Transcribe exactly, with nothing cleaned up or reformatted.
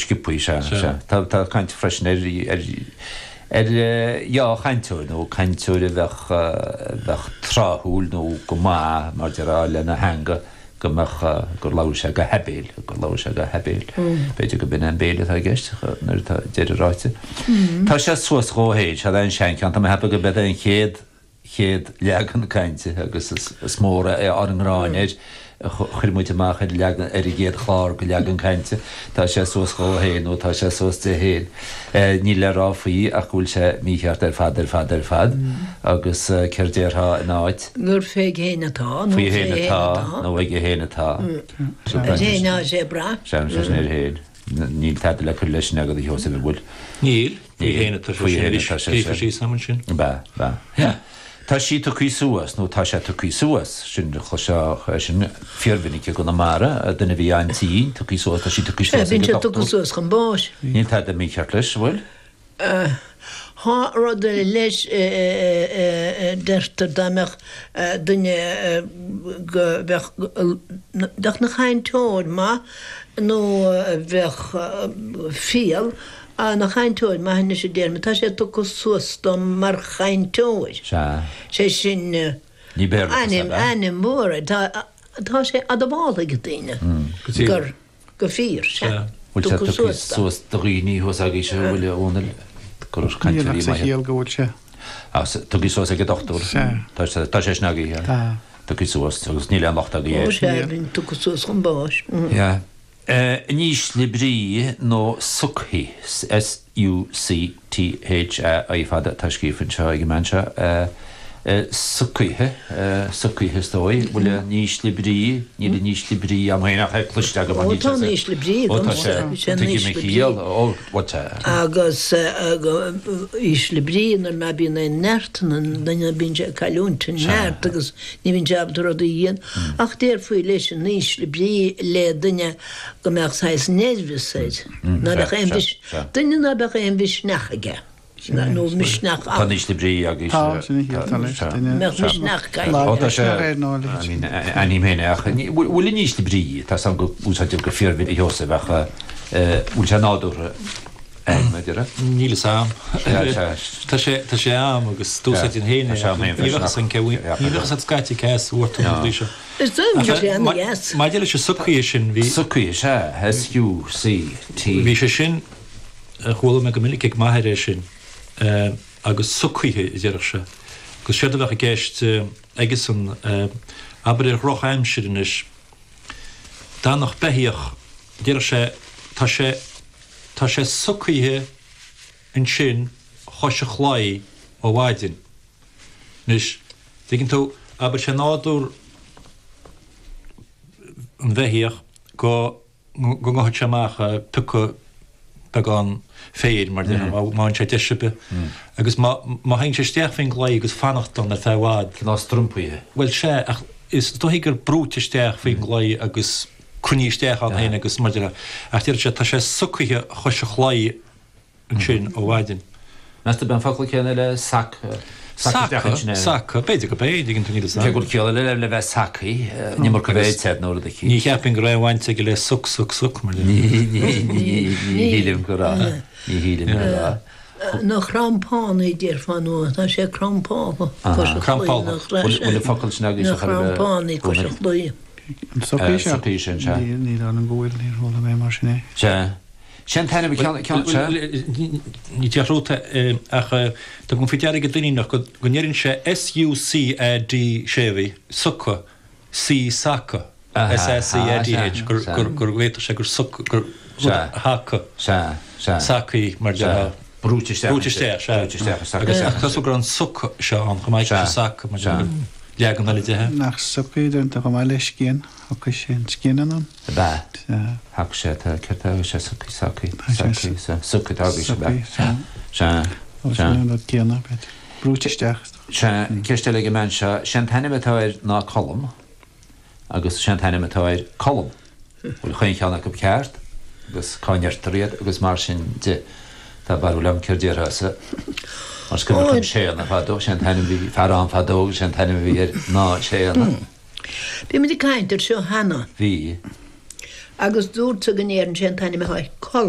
sciobtha, sea, sea. Tá tá caint freisin ar ar ar dhea-chainteoir nó cainteoir a bheadh bheadh tráthúil nó go maith mar déarfá lena theanga go mbeadh gur labhair sé go haibéil, gur labhair sé go haibéil. B'fhéidir go b'in an béil atá i gceist nuair atá deireadh ráite. Tá sé suas dhó fhéin, sea an seancheann, tá mé ag ceapadh go b'é an chéad chéad leagan cainte agus is is mór ár ngráin air a chuir muid amach ar leagan ar an gcéad chlár go leagan cainte. Tá sé suas dhó fhéin nó tá sé suas de fhéin. Níl le rá faoi ach go bhfuil sé mícheart ar fad ar fad ar fad agus céard déarfá ina áit? Gur fé fhéin atá nó Faoi fhéin atá nó aige fhéin atá. Ar fhéin atá sé ag brath. Sea, sé sin air fhéin. Níl tada le cur leis sin agat a Sheosaimh, an bhfuil? Níl. Faoi fhéin atá sé Faoi sin fhéin anois. atá sé Scríofa sin. síos agam ansin. Ba, ba. Tá sí tugtha suas, nó tá sé tugtha suas, sin chloisfeá sin fíormhinic i gConamara, duine a bhí an-tinn, tugtha suas, tá sí tugtha Sea, suas ag bíonn an sé tugtha dochtúir. suas chun báis. Níl tada mícheart leis, an bhfuil? Tá rud eile leis, deirtear dá mbeadh duine go bheadh, bheadh 'na chainteoir maith nó bheadh fial, Ana chainteoir maith anois a déarfainn. Tá sé tugtha suas dom mar chainteoir. Sea. Sé sin Ní Béarla ainm, ainm mhór é. Tá, tá sé admháilte ag daoine gur, go fíor, sea. Bhfuil sé Tugtha tugtha suas dom. suas do dhaoine thuas agaibhse a bhfuil a Dhónaill gur Níl ach cainteoirí sa maithe. chiall go bhfuil sé. Ach tugtha suas ag an dochtúir. Sea. Tá sé, tá sé sin agaibh. Tá. Tugtha suas agus níl aon locht agaibh Ó air. sea, bíonn tugtha suas chun báis. Yeah. In ísle brí nó sucthaí, S-U-C-T-H-A-I fada atá scríofa anseo ag an mbean seo, sucthaithe, sucthaithe is dóigh, bhfuil in ísle brí, níl in ísle brí agam féin ach é cloiste agam Ó tá in ísle brí Ó tá agamsa, sé, bhí sé in tuigim a ísle brí. chiall, ó bhuel tá. Agus ísle brí nuair ná bíonn aon neart in an duine bíonn sé ag cailliúint an neart agus ní bhíonn sé ábalta rudaí a dhéanamh. Ach déarfaí leis in ísle brí le duine go mbeadh saghas nervous air, ná beadh aon mhis, duine ná beadh aon mhisneach aige, nó misneach Tá in ísle brí agus Tá, sin a chiall, tá leis, duine mbeadh misneach Ó aige. tá sé, Misneach air nó a leithéid. I mean, aithním féin é ach bhfuil in ísle brí, tá 's agam go úsáidtear go fíormhinic a Sheosaimh ach bhfuil sé nádúrtha ag mé deire? Níl fhios a'm. Sea, Tá sé tá sé a'm agus d'úsáidfinn féin Tá é sé a'm féin ní bheadh freisin fhios a'm cé ach ní bheadh fhios a'd scaití cé as a bhfuair tú na rudaí seo. Is dóigh go bhfuil sé Ach ma- an-dheas. maidir leis an sucaí sin bhí Sucaí, sea, S-U-C-T. bhí sé sin a chuala mé go minic ag m'athair é sin eh, agus sucaithe a déarfadh sé. Agus séard a bheadh i gceist eh, aigesan eh, abair ar dhrochaimsir anois d'fhanfadh beithíoch déarfadh sé tá sé Tá sé sucaithe ansin chois an chlaí ó mhaidin. Anois, tuigeann tú, abair sé nádúr an bheithíoch go go ngabhfadh sé amach ag piocadh beagán féir mar déarfá, má má fhaigheann sé deis ar bith. Agus má má théann sé isteach faoin gclaí agus fanacht ann ar feadh i bhfad. Cineál strompaithe. Bhuel, sea, ach is dóichí gur brúite isteach faoin gclaí agus cruinnithe isteach ann féin agus mar déarfá, ach deir sé, tá sé sucaithe chois an chlaí ansin ó mhaidin. Meas tú ab é an focal céanna le sac, sac isteach Saca, ansin é? saca, b'fhéidir go b'é, dtuigeann tú, níl fhios Cé a'm. go bhfuil ciall eile le bheith sacaí, an iomarca bheith ite nó rud eicínt. Ní cheapfainn go raibh aon bhaint aige le suc, suc, suc, mar Ní, déarfá. ní, ní, ní shílim go raibh, ní shílim go raibh. Na crampánaí déarfá nó tá sé crampálta cois an chlaí, Crampálta. na cra- Bhfuil bhfuil an focal sin agaibhse na chor ar bith, crampánaí cois an Dónall? chlaí. An socaí seo? Socaí sin, sea. Níl, níl ann go bhfuil, níor chuala mé mar sin é. Sea. Sé an t-ainm ceann, ceann, sea. Ní déarfá ach tugaim faoi deara ag an Duinníneach go go ndeireann sé S-U-C-A-D séimhithe, suca, C saca, Aha, S-A-C-A-D-H, gur sea. gur gur bhféadfadh sé gur suc, gur rud Sea. a shacadh, Sea, sea. sacaí mar Sea. déarfá. Brúite isteach. Brúite isteach, sea. Brúite isteach, saca Agus isteach. tá súil go raibh an suc seo ann chomh maith leis an Sea. sac, mar Sea. déarfá, leagan eile de. Nach sucaí déanta chomh maith le scian, thiocfadh sé an scian anonn. Ab ea? Sea. Thagadh sé, tá, céard a thagadh sé, sucaí, sacaí, Tá sé sacaí, sea, sucaí, tagadh sé, ab ea? Sucaí, sea. Sea. Ó, Sea. sin an rud céanna, b'fhéidir. Brúite isteach. Sea, ceist eile ag an mbean seo, sé an t-ainm atá air ná Colm agus sé an t-ainm atá air Colm. Bhfuil chaon cheann acu ceart agus cá ndeirtear iad agus mar sin de. Tá barúil agam céard déarfása. Mar is cuimhin liom Séanna fadó, sé an t-ainm a bhí fear ann fadó agus sé an t-ainm a bhí air ná Séanna. Bhí muid ag caint air seo cheana. Bhí. Agus dúirt tú go ndeireann sé an t-ainm atá air Colm.